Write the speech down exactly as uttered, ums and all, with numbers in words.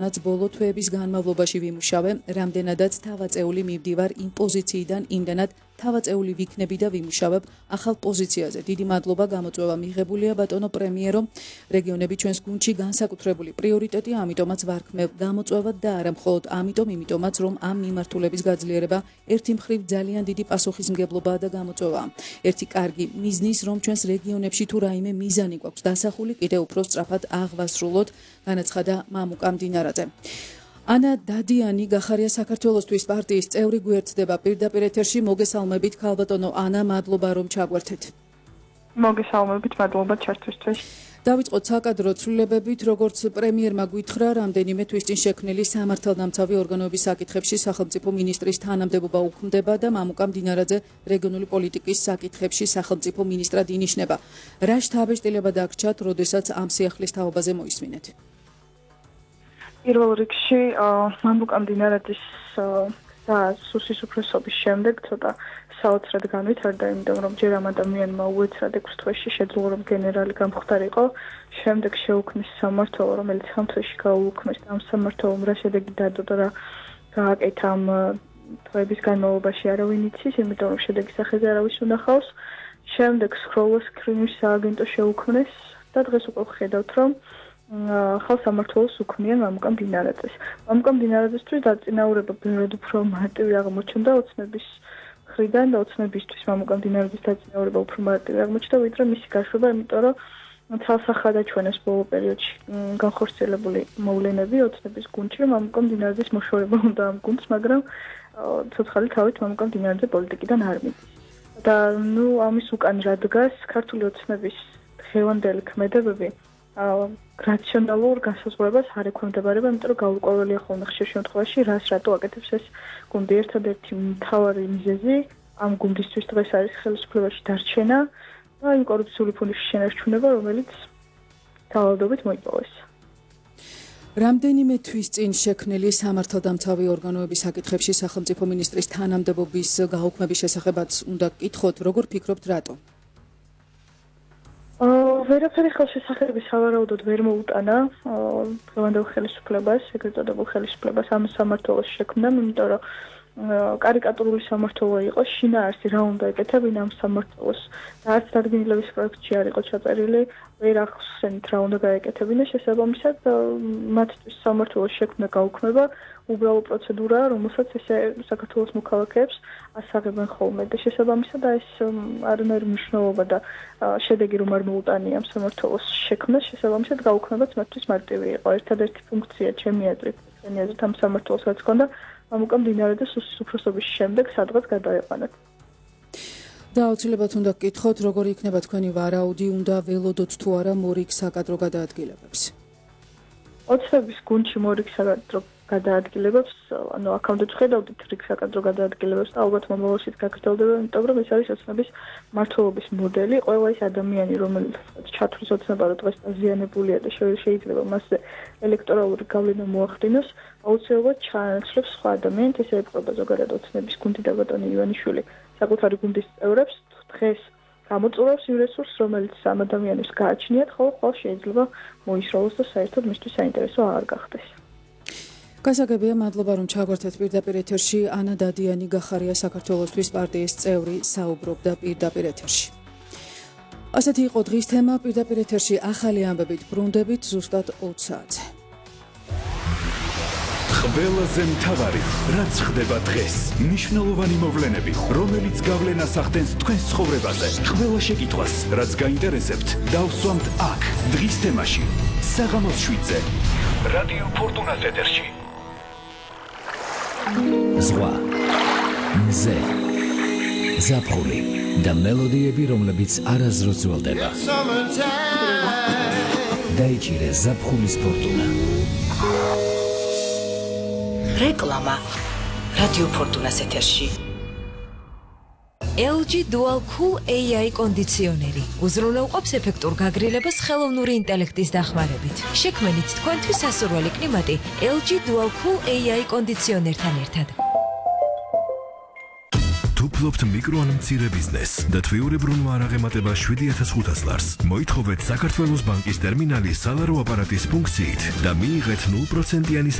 რაც ბოლო თვეების განმავლობაში ვიმუშავე, რამდენადაც თავაწეული მივდივარ იმ პოზიციიდან იმდანად თავაწეული ვიქნები და ვიმუშავებ ახალ პოზიციაზე. დიდი მადლობა, გამოწვევა მიღებულია ბატონო პრემიერო. რეგიონები ჩვენს გუნდში განსაკუთრებული პრიორიტეტია, ამიტომაც ვარქმევ გამოწვევად და არა მხოლოდ ამიტომ, იმიტომაც რომ ამ მიმართულების გაძლიერება ერთი მხრივ ძალიან დიდი პასუხისმგებლობაა და გამოწვევაა. ერთი კარგი მიზნის, რომ ჩვენს რეგიონებში თუ რაიმე მიზანი გვაქვს დასახული, კიდევ უფრო სწრაფად აღვასრულოთ, განაცხადა მამუკა მდინარაძე. ანა დადიანი გახარია საქართველოსთვის პარტიის წევრი გვერდდება პირდაპირ ეთერში. მოგესალმებით ქალბატონო ანა, მადლობა რომ ჩაგვერთეთ. მოგესალმებით, მადლობა ჩართვისთვის. დავიწყოთ საკადრო ცვლილებებით, როგორც პრემიერმა გითხრა, რამდენიმე თვის წინ შექმნილი სამართალდამცავი ორგანოების საკითხებში სახელმწიფო მინისტრის თანამდებობა უქმდება და მამუკა მდინარაძე რეგიონული პოლიტიკის საკითხებში სახელმწიფო მინისტრად ინიშნება. რა შთაბეჭდილება დაგრჩათ, როდესაც ამ სიახლის თაობაზე მოისმინეთ? პირველ რიგში მამუკა მდინარაძის სუსის უფროსობის შემდეგ ცოტა საოცრად განვითარდა, იმიტომ რომ ჯერ ამ ადამიანმა უეცრად ექვს თვეში შეძლო რომ გენერალი გამხდარიყო, შემდეგ შეუქმნის სამმართველო, რომელიც ხამ თვეში გაუუქმეს და ამ სამმართველომ რა შედეგი დადო და რა გააკეთა ამ თვეების განმავლობაში არავინ იცის, იმიტომ რომ შედეგის სახეზე არავის უნახავს. შემდეგ სქროლოს კრიმის სააგენტო შეუქმნეს და დღეს უკვე ვხედავთ, რომ ახალ სამმართველოს უქმნიან მამუკა მდინარაძეს. მამუკა მდინარაძესთვის დაწინაურება ბევრად უფრო მარტივი აღმოჩნდა ოცნების მხრიდან და ოცნებისთვის მამუკა მდინარაძის დაწინაურება უფრო მარტივი აღმოჩნდა, ვიდრე მისი გაშვება, იმიტომ რომ ცალსახად აჩვენეს ბოლო პერიოდში განხორციელებული მოვლენები ოცნების გუნდში, რომ მამუკა მდინარაძის მოშორება უნდა ამ გუნდს, მაგრამ ცოცხალი თავით მამუკა მდინარაძე პოლიტიკიდან არ მიდის. და ნუ ამის უკან რა დგას ქართული ოცნების დღევანდელი ქმედებები რაციონალურ განსაზღვრებას არ ექვემდებარება, იმიტომ რომ გაურკვეველია ხოლმე ხშირ შემთხვევაში, რას რატო აკეთებს ეს გუნდი. ერთადერთი მთავარი მიზეზი ამ გუნდისთვის დღეს არის ხელისუფლებაში დარჩენა და იმ კორუფციული ფულის შენარჩუნება, რომელიც თავადობით მოიპოვეს. რამდენიმე თვის წინ შექმნილი სამართალდამცავი ორგანოების საკითხებში სახელმწიფო მინისტრის თანამდებობის გაუქმების შესახებაც უნდა გკითხოთ, როგორ ფიქრობთ, რატო? ვერაფერი ხელშესახების სავარაუდოდ ვერ მოუტანა დღევანდელ ხელისუფლებას, ეგრეთ წოდებულ ხელისუფლებას ამ სამმართველოს შექმნამ, იმიტომ რომ კარიკატურული სამმართველო იყო, შინაარსი რა უნდა ეკეთებინა ამ სამმართველოს და არც დადგენილების პროექტში არ იყო ჩაწერილი, ვერ ახსენით რა უნდა გაეკეთებინა, შესაბამისად მათთვის სამმართველოს შექმნა გაუქმება უბრალო პროცედურაა, რომელსაც ესე საქართველოს მოქალაქეებს ასაღებენ ხოლმე და შესაბამისად ეს არანაირი მნიშვნელობა და შედეგი რომ არ მოუტანია ამ სამმართველოს შექმნას, შესაბამისად გაუქმებაც მათთვის მარტივი იყო. ერთადერთი ფუნქცია ჩემი აზრით, ჩემი აზრით ამ სამმართველოს რაც ჰქონდა, მამუკა მდინარაძეს სუსის უფროსობის შემდეგ სადღაც გადაეყვანათ. და აუცილებლად უნდა გკითხოთ, როგორი იქნება თქვენი ვარაუდი, უნდა ველოდოთ თუ არა მორიგ საკადრო გადაადგილებებს? ოცნების გუნდში მორიგ საკადრო გადაადგილებებს, ანუ აქამდე ვხედავდით რიგ საკადრო გადაადგილებებს და ალბათ მომავალშიც გაგრძელდება, იმიტომ რომ ეს არის ოცნების მმართველობის მოდელი. ყველა ის ადამიანი, რომელიც ჩათვლის ოცნება რომ დღეს დაზიანებულია და შეიძლება მასზე ელექტორალური გავლენა მოახდინოს, აუცილებლად ჩაანაცვლებს სხვა ადამიანს, ესე ეპყრობა ზოგადად ოცნების გუნდი და ბატონი ივანიშვილი საკუთარი გუნდის წევრებს დღეს გამოწვევს იმ რესურსს, რომელიც ამ ადამიანებს გააჩნიათ, ხოლო ხვალ შეიძლება მოისროლოს და საერთოდ მისთვის საინტერესო არ გახდეს. გასაგებია, მადლობა რომ ჩაგვერთეთ პირდაპირ ეთერში. ანა დადიანი გახარია საქართველოსთვის პარტიის წევრი საუბრობდა პირდაპირ ეთერში. ასეთი იყო დღის თემა. პირდაპირ ეთერში ახალი ამბებით ბრუნდებით ზუსტად ოც საათზე. ყველაზე მთავარი, რაც ხდება დღეს, მნიშვნელოვანი მოვლენები, რომელიც გავლენას ახდენს თქვენს ცხოვრებაზე. ყველა შეკითხვას, რაც გაინტერესებთ, დავსვამთ აქ, დღის თემაში, საღამოს შვიდზე, რადიო ფორტუნას ეთერში. ზღვა, მზე, ზაფხული და მელოდიები, რომლებიც არასდროს ძველდება. დაიჭირე ზაფხულის ფორტუნა. რეკლამა რადიო ფორტუნას ეთერში. ელ ჯი Dual Cool ეი აი კონდიციონერი უზრუნველყოფს ეფექტურ გაგრილებას ხელოვნური ინტელექტის დახმარებით. შექმნით თქვენთვის სასურველი კლიმატი ელ ჯი Dual Cool ეი აი კონდიციონერთან ერთად. თუ ფლობთ მიკრო ან მცირე ბიზნესს და თვიურებრუნვა არ აღემატება შვიდი ათას ხუთას ლარს, მოითხოვეთ საქართველოს ბანკის ტერმინალის სალარო აპარატის ფუნქციით და მიიღეთ ნულ პროცენტიანი